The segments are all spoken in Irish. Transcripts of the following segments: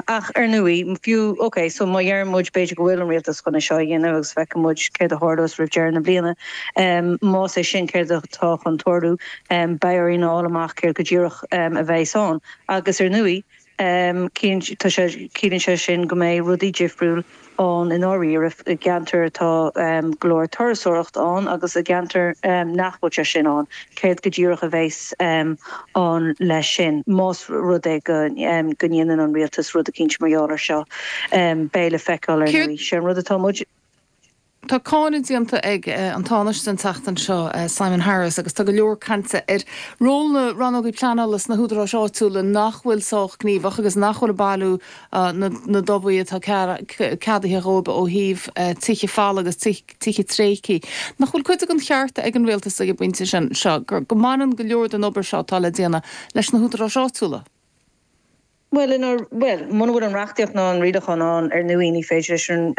Ach ar ndóigh, fiú, ok, so má dheireann muid b'fhéidir go bhfuil an rialtas chun é seo a dhéanamh agus feicfidh muid céard a tharlós roimh deireadh na bliana, más é sin céard atá chun tarlú, beidh orainn a fháil amach céard go díreach a bheas ann. Agus ar ndóigh, tá sé, ciallaíonn sé sin go mbeidh rudaí difriúil ann i ndáiríre i gceantair atá go leor turasóireacht ann agus i gceantair nach bhfuil sé sin ann. Céard go díreach a bheas ann leis sin? Más rud é go ndéanann an rialtas rud eicínt mar gheall air seo, beidh le feiceáil ar ndóigh. Sé an rud atá muid. Tá cáineadh déanta ag an Tánaiste an tseachtain seo, Simon Harris, agus tá go leor cainte ar ról na rannógaí pleanála sna húdaráis áitiúla nach bhfuil sách gníomhach agus nach bhfuil ag bailiú na dtobhaigh atá ceadaithe dhóibh ó thaobh tithe folmha agus tithe tréigthe. Nach bhfuil cuid den cheart ag an rialtas ag an bpointe sin seo go mbaineann go leor den obair seo atá le déanamh leis na húdaráis áitiúla? Bhuel, bhuel, muna bhfuil an reachtaíocht ná an rialachán ann, ar ndóigh, ní féidir leis an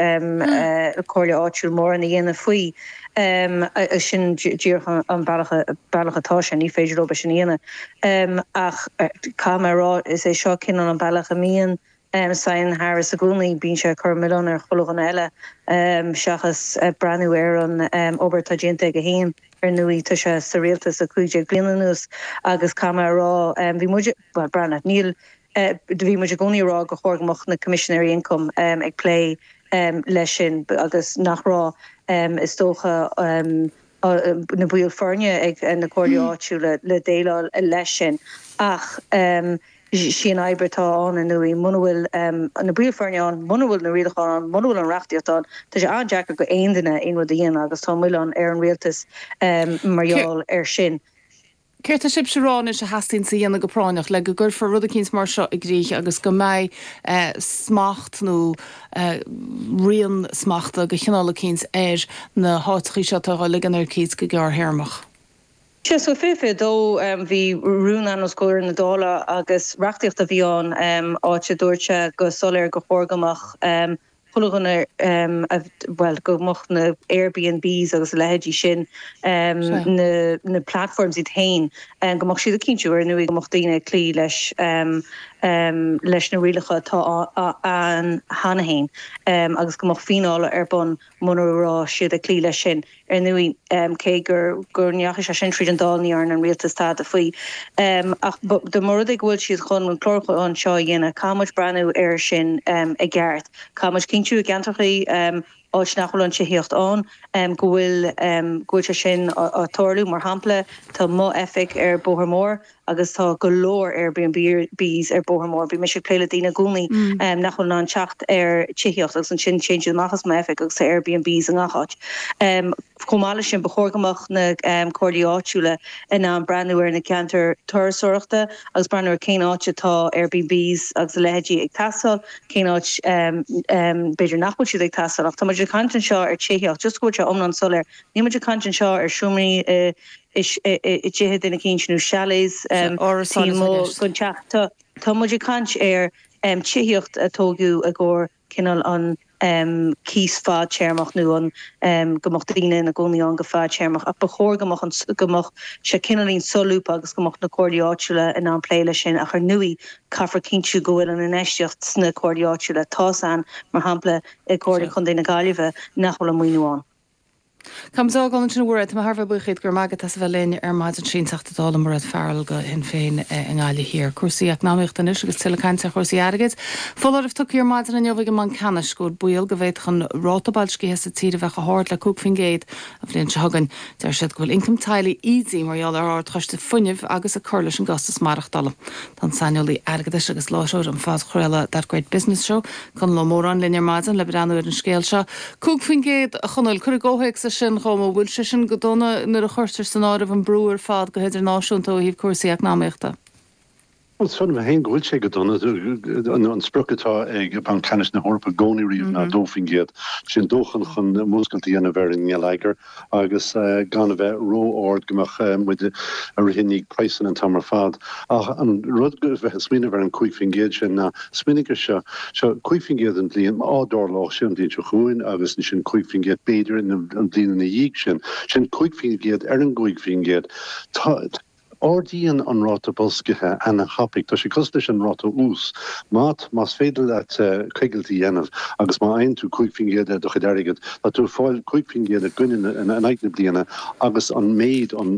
Comhairle áitiúil mórán a dhéanamh faoi. Sin díreach an bealach, bealach atá sé, ní féidir leo é sin a dhéanamh. Ach caithfidh mé a rá, is é seo cineál an bealach a mbíonn Simon Harris i gcónaí, bíonn sé ag cur an milleán ar chuile dhuine eile seachas breathnú ar an obair atá déanta aige féin. Ar ndóigh, tá sé sa rialtas le 15 bliana anuas agus caithfidh mé a rá, bhí muid, bhuel, breathnaigh, níl, bhí muid i gcónaí ag rá gur chóir go mbeadh na Coimisinéirí Ioncaim ag plé leis sin agus nach raibh, is dócha, na baill foirne ag na comhairlí áitiúla le déileáil leis sin. Ach. Sí an fhadhb atá ann, ar ndóigh, muna bhfuil na baill foirne ann, muna bhfuil na rialacháin ann, muna bhfuil an reachtaíocht ann, tá sé an-deacair go aon duine aon rud a dhéanamh agus tá an milleán ar an rialtas mar gheall air sin. Céard tá sibhse a rá anois a theastaíonn a dhéanamh go práinneach le go gcuirfear rud eicínt mar seo i gcrích agus go mbeidh smacht nó rian smachta de chineál eicínt ar na háiteachaí seo atá á ligean ar cíos go gearrthéarmach? Sea, so 2022 bhí rún ann os comhair na Dála agus reachtaíocht a bhí ann, áit a dúirt sé go soiléir gur chóir go mbeadh chuile dhuine, bhuel, go mbeadh na Airbnbs agus a leithéidí sin, na na platforms iad féin, go mbeadh siad ag cinntiú, ar ndóigh, go mbeadh daoine ag cloí leis leis na rialacha atá ann cheana féin agus go mbeadh fíneála ar bun muna raibh siad ag cloí leis sin. Ar ndóigh, cé gur go ndeachaigh sé sin tríd an Dáil, ní dhearna an rialtas tada faoi. Ach dá mba rud é go bhfuil siad chun an clárúchán seo a dhéanamh, caithfidh muid breathnú air sin i gceart. Caithfidh muid cinntiú i gceantracha, áit nach bhfuil an tithíocht ann, go bhfuil go bhfuil sé sin á tarlú. Mar shampla, tá mo oifig ar Bóthar Mór agus tá go leor Airbnbs ar Bóthar Mór. Bíonn mise ag plé le daoine i gcónaí nach bhfuil in ann teacht ar tithíocht agus ansin téann siad amach as m'oifig agus tá Airbnbs i ngach áit. Chomh maith leis sin, ba chóir go mbeadh na comhairlí áitiúla in ann breathnú ar na ceantair turasóireachta agus breathnú ar cén áit atá Airbnbs agus a leithéidí ag teastáil, cén áit b'fhéidir nach bhfuil siad ag teastáil. Ach tá muid ag caint anseo ar tithíocht, just go bhfuil sé iomlán soiléir, níl muid ag caint anseo ar seomraí i i dtithe duine eicínt nó chalets taobh amuigh den teach. Tá muid ag caint ar tithíocht a tógadh i gcomhair cineál an cíos fadtéarmach nó an go mbeadh daoine ina gcónaí ann go fadtéarmach ach ba chóir go mbeadh an go mbeadh sé cineáilín solúbtha agus go mbeadh na comhairlí áitiúla in ann plé leis sin ach ar ndóigh caithfear cinntiú go bhfuil an infheistíocht sna comhairlí áitiúla. Tá's a'inn mar shampla i gComhairle Chontae na Gaillimhe nach bhfuil an maoiniú ann. Caithfidh muid a fhágáil ansin a Mhairéad. Tá mé thar a bheith buíoch díot, go raibh maith agat as a bheith linn ar maidin. Sin Teachta Dála Mairéad Farrell do Shinn Féin i nGaillimh Thiar. Cúrsaí eacnamaíochta anois agus tuilleadh cainte ar chúrsaí airgid. Foláireamh tugtha ar maidin inniu ag an mBanc Ceannais go bhfuil baol go bhféadfadh an ráta boilscithe sa tír a bheith chomh hard le 5% an bhliain seo chugainn. Deir siad go bhfuil ioncam teaghlaigh ídithe mar gheall ar ardchostais fuinnimh agus ag cur leis an gcostas maireachtála. Tá an saineolaí airgeadais agus láithreoir an phodchraoladh That Great Business Show, Conall Ó Móráin linn ar maidin le breathnú ar an scéal seo. 5%, a Chonaill, cuir i gcomhthéacs é sin dhom, an bhfuil sé sin go dona nuair a chuirtear san áireamh an brú ar fad go hidirnáisiúnta ó thaobh cúrsaí eacnamaíochta? Bhuel, sílim féin go bhfuil sé go dona. An sprioc atá ag Banc Ceannais na hEorpa i gcónaí riamh ná 2%. Sin dóthain chun múscailt a dhéanamh ar an ngeilleagar agus gan a bheith ró-ard go mbeadh muid ag rith i ndiaidh praghsanna an t-am ar fad. Ach an rud a bheith ag smaoineamh ar an 5% sin ná, smaoinigh ar seo, seo 5% an bhliain, má tharlódh sé an bhliain seo chugainn agus ansin 5% b'fhéidir an bhliain ina dhiaidh sin, sin 5% ar an gcúig faoin gcéad. Tá. Ardaíonn an ráta boilscithe ana-thapaidh. Tá sé cosúil leis an ráta ús. Má, más féidir leat coigilt a dhéanamh agus má fhaigheann tú 5% ar do chuid airgid, tá tú ag fáil 5% i gcoinne na, in aghaidh na bliana agus an méid, an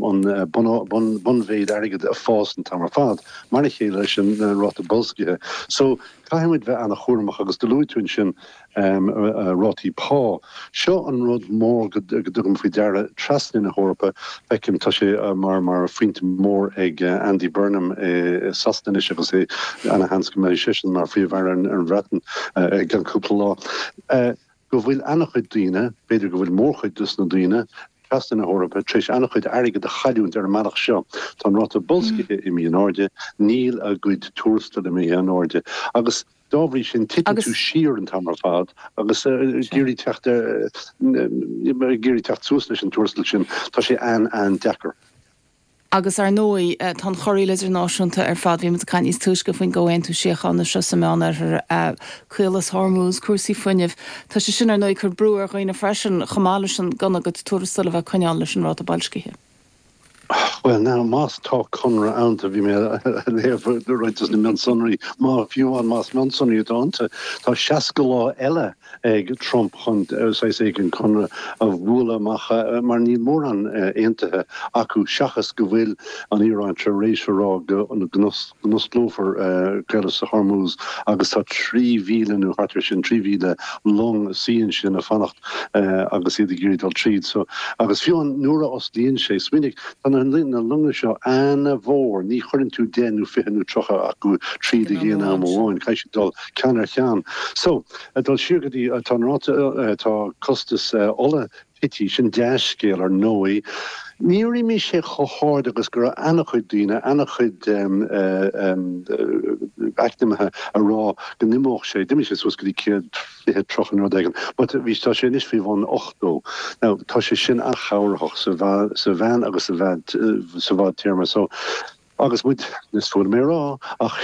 bunmhéid airgid ag fás an t-am ar fad, mar a chéile leis an ráta boilscithe. So, caithfidh muid bheith ana-chúramach agus do luaigh tú ansin, rátaí pá. Seo an rud mór go dtugaim faoi deara trasna na hEorpa. Feicim, tá sé mar mar phointe mór ag Andy Burnham i Sasana anois agus é ana-sheans go mbeidh seisean mar Phríomh-Aire ar an Bhreatain i gceann cúpla lá, go bhfuil ana-chuid daoine, b'fhéidir go bhfuil mórchuid dos na daoine, trasna na hEorpa tar éis an-chuid airgid a chailliúint ar an mbealach seo. Tá an ráta boilscithe imithe in airde, níl a gcuid tuarastail imithe in airde agus dá bhrí sin titeann tú siar an t-am ar fad agus ag iarraidh teacht ar, ag iarraidh teacht suas leis an tuarastal sin, tá sé an-an-deacair. Agus ar ndóigh, tá an chorraíl idirnáisiúnta ar fad. Bhí muid ag caint níos túisce faoin gcomhaontú síochána seo sa Meánoirthear, Caolas Hormuz, cúrsaí fuinnimh. Tá sé sin ar ndóigh ag cur brú ar dhaoine freisin, chomh maith leis an gan a gcuid tuarastail a bheith ag coinneáil leis an ráta boilscithe. Bhuel now, más tá conradh ann, bhí mé ag léamh roinnt de na mionsonraí, má, fiú amháin más mionsonraí atá iontu, tá 60 lá eile ag Trump chun saghas éigin conradh a bhualadh amach mar níl mórán aontaithe acu seachas go bhfuil an Iaráin tar éis a rá go n-osclófar Caolas Hormuz agus tá 3,000 nó thart ar sin, 3,000 long ag suí ansin ag fanacht agus iad ag iarraidh dul tríd. So, agus fiú amháin nuair a osclaíonn sé, smaoinigh, tá na longa seo ana-mhór, ní chuireann tú 10 nó 20 nó 30 acu tríd ag aon am amháin, caithfidh siad dul ceann ar cheann. So, ag dul siar go dtí, tá an ráta, tá costas ola tite, sin dea-scéal ar ndóigh. Níor imigh sé chomh hard agus go raibh an-chuid daoine, an-chuid eacnamaithe a rá go n-imeodh sé. D'imigh sé suas go dtí 120, 30 nó rud éigin, but bhí, tá sé anois faoi bhun 80. Now, tá sé sin an-chabhraitheach sa mheán agus sa bhfadtéarma. So, Agus muid, is fuath liom é a rá, ach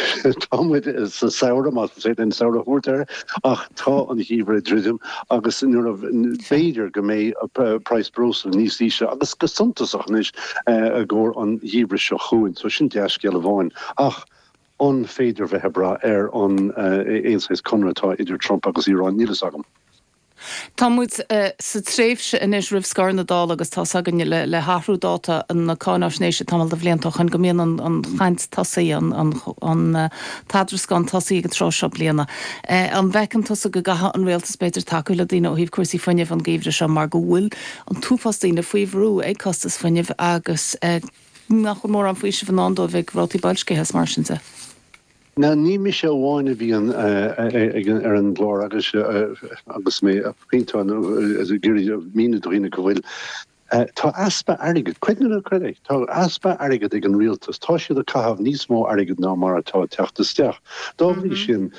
tá muid sa samhradh, más féidir linn samhradh a thabhairt air, ach tá an geimhreadh ag druidim agus nuair a, b'fhéidir go mbeidh praghas breosla níos ísle agus go suntasach anois i gcomhair an gheimhridh seo chugainn. So sin dea-scéal amháin. Ach an féidir bheith ag brath ar an aon saghas conradh atá idir Trump agus Iran? Níl fhios agam. Tá muid sa tréimhse anois roimh scor na Dála agus tá's againn le hathrú dáta na cáináisnéise tamall de bhlianta ó shoin go mbíonn an chaint tosaigh, an t-eadrascán tosaigh ag an tráth seo bliana. An bhfeiceann tusa go gcaithfidh an rialtas b'fhéidir tacú le daoine ó thaobh cúrsaí fuinnimh an geimhreadh seo mar go bhfuil an t-uafás daoine faoi bhrú ag costas fuinnimh agus nach bhfuil mórán faoisimh i ndán dóibh ag rátaí boilscithe is mar sin de? Now ní mise amháin a bhíonn ar an gclár agus agus mé ag pointeáil nó ag iarraidh míniú do dhaoine go bhfuil, tá easpa airgid, creid nó ná creid é, tá easpa airgid ag an rialtas, tá siad ag caitheamh níos mó airgid ná mar atá ag teacht isteach. Dá bhrí sin,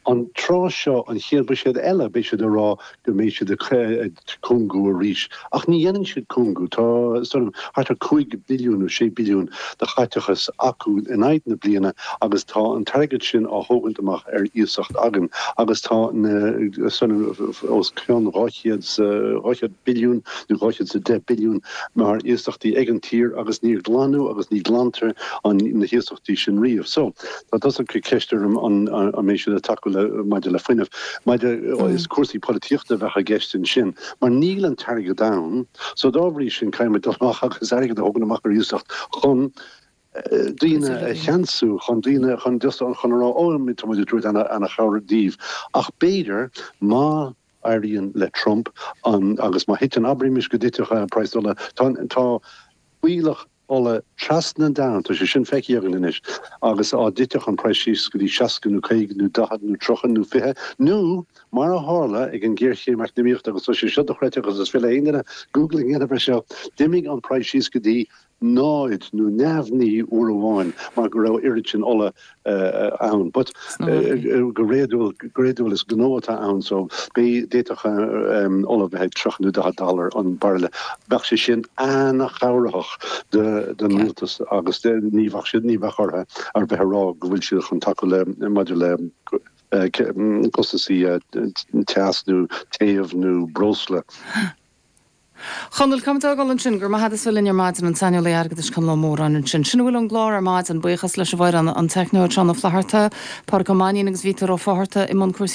an tráth seo, an chéad bhuiséad eile, beidh siad ag rá go mbeidh siad ag cúngú arís. Ach ní dhéanann siad cúngú. Tá sort of thart ar 5 billiún nó 6 billiún de chaiteachas acu in aghaidh na bliana agus tá an t-airgead sin á thógaint amach ar iasacht againn agus tá na sort of os cionn 200 200 billiún nó 210 billiún mar iasachtaí ag an tír agus níor glanadh agus ní glantar an na hiasachtaí sin riamh. So, tá tusa ag cur ceist orm an an mbeidh siad ag tacú le maidir le fuinneamh. Maidir, is cúrsaí polaitíochta a bheadh i gceist ansin, mar níl an t-airgead ann, so dá bhrí sin caithfidh muid dul amach agus airgead a thógaint amach ar iasacht chun daoine a cheansú, chun daoine, chun just, chun a rá, ó, tá muid ag tabhairt ana-chabhair daoibh. Ach b'fhéidir, má éiríonn le Trump an, agus má thiteann, abraimis go dtitfeadh praghas ola, tá, tá fuílleach ola trasna an domhain, tá sé sin feicthe againn anois, agus dá dtitfeadh an praghas síos go dtí 60 nó 50 nó 40 nó 30 nó 20 nó mar a tharla ag an ghéarchéim eacnamaíochta agus tá sé seo dochreidte agus is féidir le haon duine googling a dhéanamh ar seo, d'imigh an praghas síos go dtí náid nó neamhní uair amháin mar go raibh oiread sin ola ann. But go réadúil, go réadúil is gnó atá ann so d'fhéadfadh ola bheith ag 30 nó 40 dollar an bairille. Bheadh sé sin ana-chabhraitheach don rialtas agus ní bheadh siad, ní bheadh orthu ar bheith ag rá go bhfuil siad chun tacú le, maidir le costasaí teas nó téamh nó breosla. Chonaill, Caithfimid fágáil ansin. Go raibh maith agat as bheith linn ar maidin, an saineolaí airgeadais Conall Ó Móráin ansin. Sin a bhfuil ón gclár ar maidin. Buíochas leis an bhfoireann, an teicneoir Seán Ó Flatharta, Pádraic Ó Mainnín agus Vítear Ó Fátharta i mbun cúrsaí.